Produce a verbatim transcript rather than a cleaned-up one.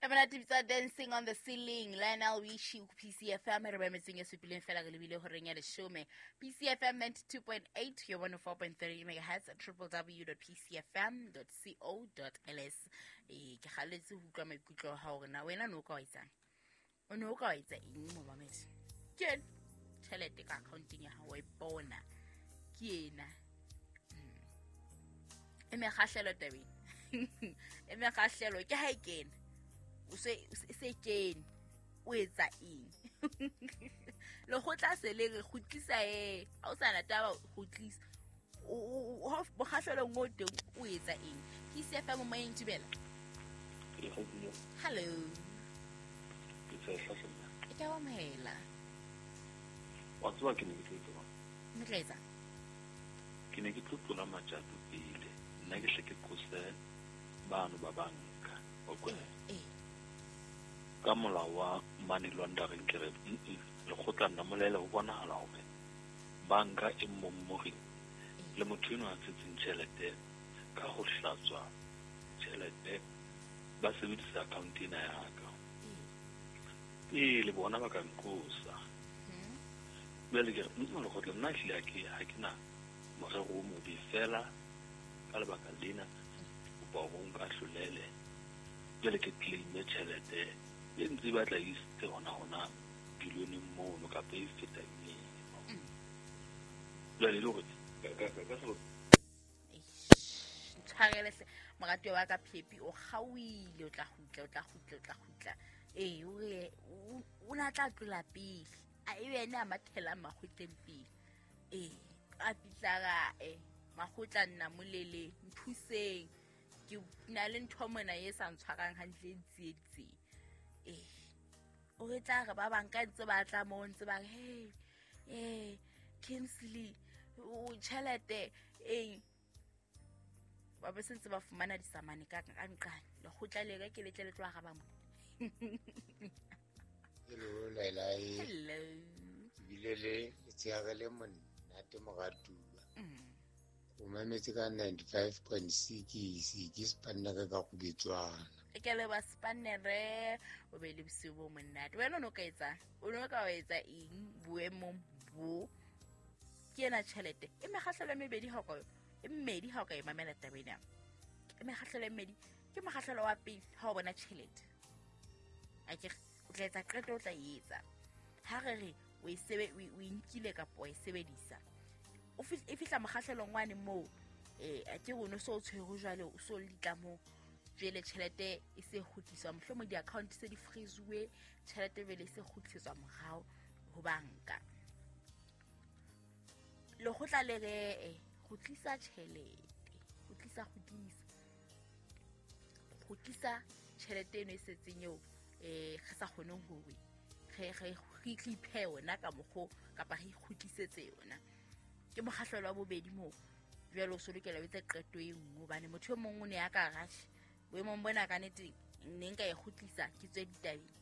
Monate bitsa Dancing on the Ceiling, Lionel Richie, P C F M. Re ba metseng e supileng fela re lebile horeng ya leshome. P C F M ninety-two point eight, your one oh four point three megahertz, triple w dot p c f m dot co dot l s. Eh, ke kgalletse ho utlwa maikutlo a hao hore na wena no ka wa etsang? O ne o ka wa etsa eng mo mamedi? Ke ena tjhelete ka accounteng ya hao wa ipona. Ke ena. E mekgahlelo tabeng. E mekgahlelo ke ha e kena. O se, o se kene, o etsa eng? Lekgotla se le re kgutlisa e, ha o sa na taba kgutlisa. O, o, o, ha mokgahlelong o teng o etsa eng? P C F M moyeng, dumela. Hello. Ke tshehla hle nna. E ka amohela. Wa tseba ke ne ke tlo etsa. Ne tla etsa? Ke ne ke tlo tlola matjato pele. Nna ke hle ke qose bano ba banka. O kwena? Eh. Ka molao wa money laundering ke re, mm-mm, lekgotla nna molele ho bonahala hore banka e mmommori le motho enwa a tshetseng tjhelete ka ho hlatswa tjhelete ba sebedisa account ena ya ka. Pele bona ba ka nqosa. Jwale ke re, mm-mm, lekgotla nna ehlile ha ke, ha ke na morero o mobe fela ka lebaka lena, kopa hore o nka hlolele. Jwale ke claim-e tjhelete e ntse e batla e isitse hona hona billion-eng mono kapa e fetang eno. Jwale e le hore ka, ka, ka, ka selo- Eish, ntshwarele hle, moratuwa wa ka Phepi, o kgaohile, o tla kgutla, o tla kgutla, o tla kgutla. Ee, o re, o, o na tla tlola pele. A ebe ene a mathelang makgotleng pele. Ee, a fihla ra, eh, makgotla nna molele, nthuseng. Ke na le ntho mona e sa ntshwarang hantle e ntsieditseng. Ee, o re tla re ba bang ka ntse ba tla moo, ntse ba re, hey, eh, Kingsley, o tjhelete eng? Ba be se ntse ba fumana disamane ka, ka nqane. Lekgotla le ka ke letle le tlo araba mo. Hello, Laila. Hello. Ke bile le letshehare le monate moratuwa. Mm. O mametse ka ninety-five point six, ke spannere ka Kgubetswana. E ke le ba spannere, o be le bosiu bo monate. Wena o no ka etsang? O no ka wa etsa eng boemong bo? Ke ena tjhelete. E mekgahlelo e mebedi ha o ka, e mmedi ha o ka e mamela taba ena. E mekgahlelo e mmedi, ke mokgahlelo wa pele ha o bona tjhelete. A ke re, o tla etsa qeto, o tla e etsa. Ha re re o e sebe-, o e, o e nkile kapa wa e sebedisa. O fi-, e fihla mokgahlelong wane moo, eh, a ke re o no so o tshwerwe jwale, o so le ditlamong. Jwale tjhelete e se kgutliswa, mohlomong di-account se di freeze-uwe, tjhelete jwale e se kgutliswa morao ho banka. Lekgotla le re, eh, kgutlisa tjhelete, kgutlisa, kgutlisa. Kgutlisa tjhelete eno e setseng eo, eh, re sa kgoneng hore re, re, re iphe yona ka mokgo kapa re ikgutlisetse yona. Ke mokgahlelo wa bobedi moo. Jwale o so lokela o etse qeto e nngwe, hobane motho e mong o ne a ka rash. Boemong bona ka nnete ne nka e kgutlisa ke tswe ditabeng.